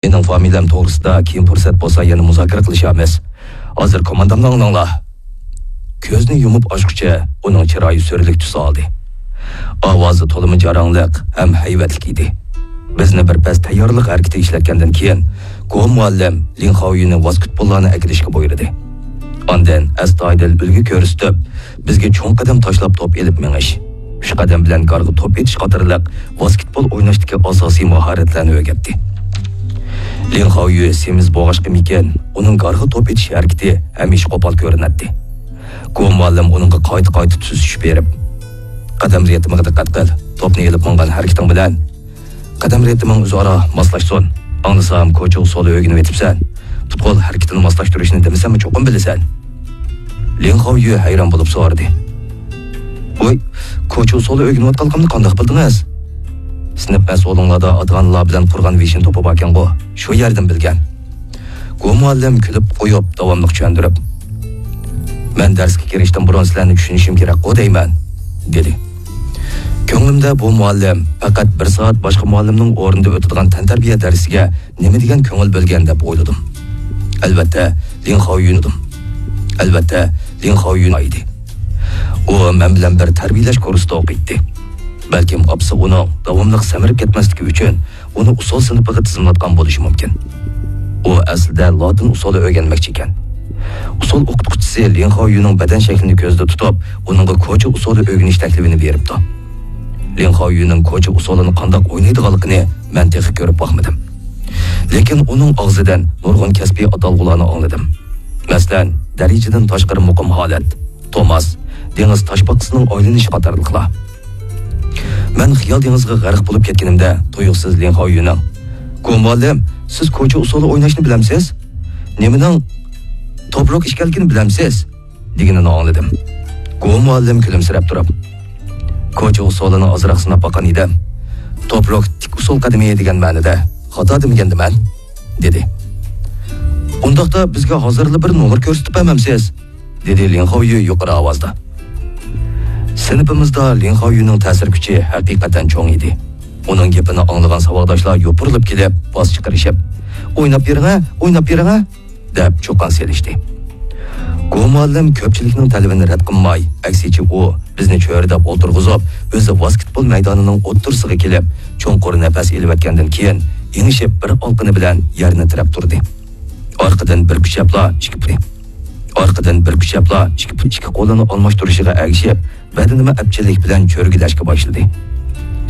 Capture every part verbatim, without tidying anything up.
مېنىڭ فامىلەم توغرىسىدا كېيىن پۇرسەت بولسا يەنە مۇزاكىرە قىلىشارمىز. ھازىر كوماندامنى ئاڭلاڭلار. كۆزنى يۇمۇپ ئاچقۇچە ئۇنىڭ چىرايى سۈرلۈك تۈس ئالدى. ئاۋازى تولىمۇ جاراڭلىق ھەم ھەيۋەتلىك ئىدى. بىزنى بىر پەس تەييارلىق ھەرىكىتى ئىشلەتكەندىن كېيىن، گو مۇئەللىم لىڭ خاۋيۈنى ۋاسكېتبوللارنى ئەكېلىشكە بۇيرۇدى. ئاندىن ئەستايىدىل ئۈلگە كۆرسىتىپ، بىزگە چوڭ قەدەم تاشلاپ توپ ئېلىپ مېڭىش، ئۈچ قەدەم بىلەن گارغا توپ ئېتىش قاتارلىق ۋاسكېتبول ئويناشتىكى ئاساسىي ماھارەتلەرنى ئۆگەتتى. لىڭ خاۋيۈ سېمىز بولغاچقىمىكىن، ئۇنىڭ گارغا توپ ئېتىش ھەرىكىتى ھەمىشە قوپال كۆرۈنەتتى. گو مۇئەللىم ئۇنىڭغا قايتا-قايتا تۈزىتىش بېرىپ، «قەدەم رىتىمىغا دىققەت قىل، توپنى ئېلىپ ماڭغان ھەرىكىتىڭ بىلەن قەدەم رىتىمىڭ ئۆزئارا ماسلاشسۇن. ئاڭلىسام، كوچا ئۇسسۇلى ئۆگىنىۋېتىپسەن. پۇتبول ھەرىكىتىنى ماسلاشتۇرۇشنى دېمىسەممۇ چوقۇم بىلىسەن.» لىڭ خاۋيۈ ھەيران بولۇپ سورىدى. «ۋاي، كوچا ئۇسسۇلى ئۆگىنىۋاتقانلىقىمنى قانداق بىلدىڭىز؟ سىنىپ مەسئۇلۇڭلاردا ئاتا-ئانىلار بىلەن قۇرغان ۋېشىن توپى باركەنغۇ، شۇ يەردىن بىلگەن.» گو مۇئەللىم كۈلۈپ قويۇپ، داۋاملىق چۈشەندۈرۈپ، «مەن دەرسكە كىرىشتىن بۇرۇن سىلەرنى چۈشىنىشىم كېرەكقۇ دەيمەن» دېدى. كۆڭلۈمدە بۇ مۇئەللىم پەقەت بىر سائەت باشقا مۇئەللىمنىڭ ئورنىدا ئۆتىدىغان تەنتەربىيە دەرسىگە نېمە دېگەن كۆڭۈل بۆلگەن دەپ ئويلىدىم. ئەلۋەتتە، لىڭ خاۋيۈن. ئەلۋەتتە، لىڭ خاۋيۈن ئىدى. ئۇ مەن بىلەن بىر تەربىيەلەش كۇرسىدا ئوقۇيتتى. بەلكىم ئاپىسى ئۇنىڭ داۋاملىق سەمرىپ كەتمەسلىكى ئۈچۈن ئۇنى ئۇسسۇل سىنىپىغا تىزىملاتقان بولۇشى مۇمكىن. ئۇ ئەسلىدە لاتىن ئۇسسۇلى ئۆگەنمەكچى ئىكەن. ئۇسسۇل ئوقۇتقۇچىسى لىڭ خاۋيۈنىڭ بەدەن شەكلىنى كۆزدە تۇتۇپ، ئۇنىڭغا كوچا ئۇسسۇلى ئۆگىنىش تەكلىپىنى بېرىپتۇ. لىڭ خاۋيۈنىڭ كوچا ئۇسسۇلىنى قانداق ئوينايدىغانلىقىنى مەن تېخى كۆرۈپ باقمىدىم. لېكىن ئۇنىڭ ئاغزىدىن نۇرغۇن كەسپىي ئاتالغۇلارنى ئاڭلىدىم. مەسىلەن، دەرىجىدىن تاشقىرى مۇقىم ھالەت، توماس، دېڭىز تاشپاقىسىنىڭ ئايلىنىشى قاتارلىقلار. مەن خىيال دېڭىزىغا غەرق بولۇپ كەتكىنىمدە، تۇيۇقسىز لىڭ خاۋيۈنىڭ، «گو مۇئەللىم، سىز كوچا ئۇسسۇلى ئويناشنى بىلەمسىز؟ نېمىنىڭ توپروك ئىكەنلىكىنى بىلەمسىز؟» دېگىنىنى ئاڭلىدىم. گو مۇئەللىم كۈلۈمسىرەپ تۇرۇپ، «كوچا ئۇسسۇلىنى ئازراق سىناپ باققان ئىدىم. توپروك تىك ئۇسسۇل قەدىمى دېگەن مەنىدە، خاتا دېمىگەندىمەن؟» دېدى. «ئۇنداقتا بىزگە ھازىرلا بىر نومۇر كۆرسىتىپ بەرمەمسىز؟» دېدى لىڭ خاۋيۈ يۇقىرى ئاۋازدا. سىنىپىمىزدا لىڭ خاۋيۈنىڭ تەسىر كۈچى ھەقىقەتەن چوڭ ئىدى. ئۇنىڭ گېپىنى ئاڭلىغان ساۋاقداشلار يوپۇرۇلۇپ كېلىپ، باس چىقىرىشىپ، «ئويناپ بېرىڭە، ئويناپ بېرىڭە!» دەپ چۇقان سېلىشتى. گو مۇئەللىم كۆپچىلىكنىڭ تەلىپىنى رەت قىلماي، ئەكسىچە ئۇ بىزنى چۆرىدەپ ئولتۇرغۇزۇپ، ئۆزى ۋاسكېتبول مەيدانىنىڭ ئوتتۇرىسىغا كېلىپ، چوڭقۇر نەپەس ئېلىۋەتكەندىن كېيىن، ئېڭىشىپ بىر ئالقىنى بىلەن يەرنى تىرەپ تۇردى. ئارقىدىن بىر كۈچەپلا ئىككى پۇتى. ئارقىدىن بىر كۈچەپلا ئىككى پۇت ئىككى قولىنى ئالماشتۇرۇشىغا ئەگىشىپ، بەدىنىمۇ ئەپچىللىك بىلەن چۆرگىلەشكە باشلىدى.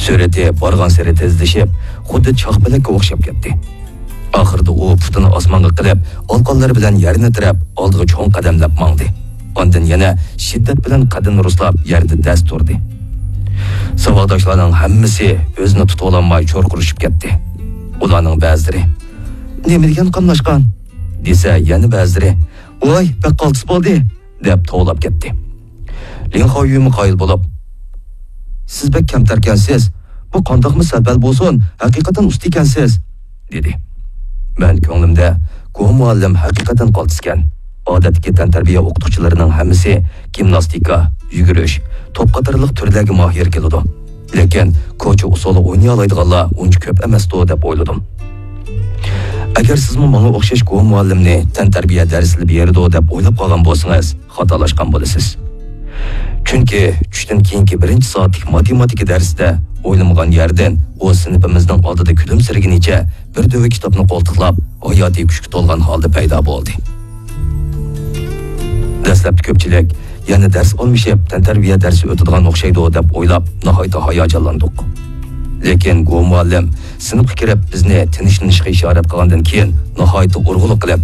سۈرئىتى بارغانسېرى تېزلىشىپ، خۇددى چاقپەلەككە ئوخشاپ كەتتى. ئاخىرىدا ئۇ پۇتىنى ئاسمانغا قىلىپ، ئالقانلىرى بىلەن يەرنى تىرەپ، ئالدىغا چوڭ قەدەملەپ ماڭدى. ئاندىن يەنە شىددەت بىلەن قەددىنى رۇسلاپ، يەردە دەس تۇردى. ساۋاقداشلارنىڭ ھەممىسى ئۆزىنى تۇتۇۋالالماي چۇرقۇرىشىپ كەتتى. ئۇلارنىڭ بەزىلىرى، «نېمە دېگەن قاملاشقان؟» دېسە، يەنە بەزىلىرى، «ۋاي، بەك قالتىس بولدى!» دەپ توۋلاپ كەتتى. لىڭ خاۋيۈمۇ قايىل بولۇپ، «سىز بەك كەمتەركەنسىز. بۇ قانداقمۇ سەل-پەل بولسۇن، ھەقىقەتەن ئۇستا ئىكەنسىز!» دېدى. مەن كۆڭلۈمدە، «گو مۇئەللىم ھەقىقەتەن قالتىسكەن. ئادەتتىكى تەنتەربىيە ئوقۇتقۇچىلىرىنىڭ ھەممىسى گىمناستىكا، يۈگۈرۈش، توپ قاتارلىق تۈرلەرگە ماھىر كېلىدۇ. لېكىن كوچا ئۇسسۇلى ئوينىيالايدىغانلار ئۇنچە كۆپ ئەمەستۇ» دەپ ئويلىدىم. ئەگەر سىزمۇ ماڭا ئوخشاش گو مۇئەللىمنى تەنتەربىيە دەرسلىرى بېرىدۇ دەپ ئويلاپ قالغان بولسىڭىز، خاتالاشقان بولىسىز. چۈنكى چۈشتىن كېيىنكى بىرىنچى سائەتلىك ماتېماتىكا دەرسىدە ئويلىمىغان يەردىن ئۇ سىنىپىمىزنىڭ ئالدىدا كۈلۈمسىرىگىنىچە بىر دۆۋە كىتابنى قولتۇقلاپ، ھاياتىي كۈچكە تولغان ھالدا پەيدا بولدى. دەسلەپتە كۆپچىلىك يەنە دەرس ئالمىشىپ، تەنتەربىيە دەرسى ئۆتىدىغان ئوخشايدۇ دەپ ئويلاپ، ناھايىتى ھاياجانلاندۇق. لېكىن گو مۇئەللىم سىنىپقا كىرىپ، بىزنى تىنچلىنىشقا ئىشارەت قىلغاندىن كېيىن، ناھايىتى ئۇرغۇلۇق قىلىپ،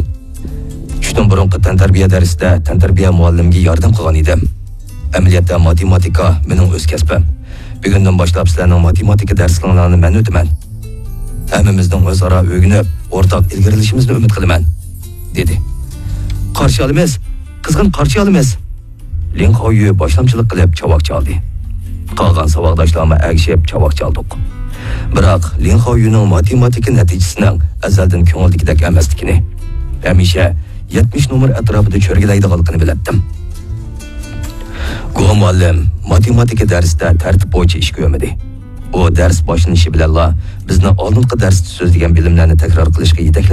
چۈشتىن بۇرۇنقى تەنتەربىيە دەرسىدە تەنتەربىيە مۇئەللىمىگە ياردەم قىلغان ئىدىم. ئەمەلىيەتتە ماتېماتىكا مېنىڭ ئۆز كەسپىم. بۈگۈندىن باشلاپ سىلەرنىڭ ماتېماتىكا دەرسلىرىڭلارنى مەن ئۆتىمەن. ھەممىمىزنىڭ ئۆزئارا ئۆگىنىپ، ئورتاق ئىلگىرىلىشىمىزنى ئۈمىد قىلىمەن، دېدى. قارشى ئالىمىز، قىزغىن قارشى ئالىمىز! لىڭ خاۋيۈ باشلامچىلىق قىلىپ چاۋاك چالدى. قالغان ساۋاقداشلارمۇ ئەگىشىپ چاۋاك چالدۇق. بىراق، لىڭ خاۋيۈنىڭ ماتېماتىكا نەتىجىسىنىڭ ئەزەلدىن كۆڭۈلدىكىدەك ئەمەسلىكىنى، ھەمىشە يەتمىش نومۇر ئەتراپىدا چۆرگىلەيدىغانلىقىنى بىلەتتىم. گو مۇئەللىم ماتېماتىكا دەرسىدە تەرتىپ بويىچە ئىش كۆرمىدى. ئۇ دەرس باشلىنىشى بىلەنلا بىزنى ئالدىنقى دەرستە سۆزلىگەن بىلىملەرنى تەكرار قىلىشقا يېتەكلەپ